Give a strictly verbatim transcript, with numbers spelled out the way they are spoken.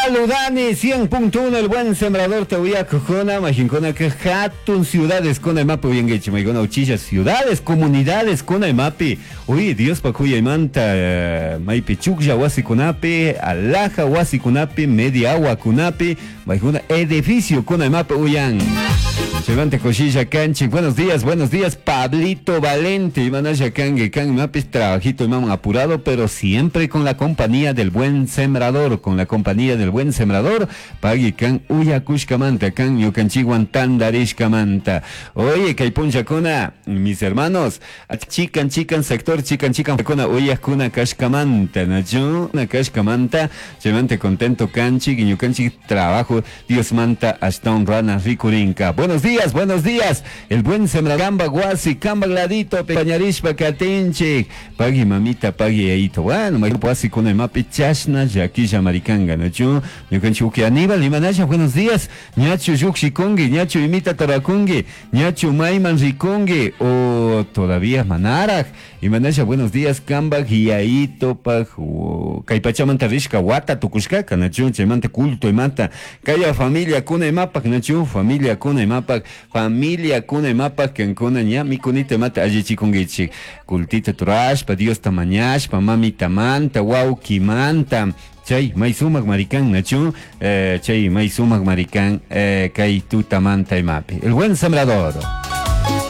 Saludani cien punto uno el buen sembrador te voy a cojona, majincona que hatun ciudades con el mapa uyanguichi, maigona uchilla ciudades, comunidades con el mapi. Uy, Dios pa cuya manta, maipi chuklla wasikunapi, alaja wasikunapi, media agua kunapi, maiguna edificio con el mapa uyan. Chaymanta kushilla kanchik. Buenos días, buenos días, Pablito Valente. Imanasha kangue kan mapis trabajito imam apurado, pero siempre con la compañía del buen sembrador, con la compañía del buen sembrador. Pagui kan uyakushkamanta, kan ñukanchikwan tandarishkamanta. Oye, kay punllakuna, mis hermanos, chikan chikan sector, chikan chikan kuna uyakuna kashkamanta, nachu, na kashkamanta, chaymanta contento kanchik, ñukanchik trabajo, Dios manta hasta un rana rikurinka. Buenos días, buenos días. El buen sembrador, guasi, kamba gladito, pañarishpa katinchik. Pagui mamita, pagui yaito. Bueno, ma guasi con el mapi chashna, yaquilla maricanga, nachu. Ñukanchik Aníbal, imanasha, buenos días. Ñachu yukshikungi, ñachu imita tarakungi, ñachu mayman rikungi, o todavía manaraj. Imanasha, buenos días, kamba yaito, paj, kaypachamanta rishka, wata tukushkaka, nachu, chaymanta culto imata. Kaya familia kuna imapak, nachu, familia kuna imapak, familia kuna imapak, kankuna ña mikunita imata allichikunkichik. Kultita turashpa, Dios tamañashpa, mamita manta, wawkimanta. Chay, may sumak maricán, nachu, eh, chay, may sumak maricán, eh, kay tutamanta imapi. El buen sembrador.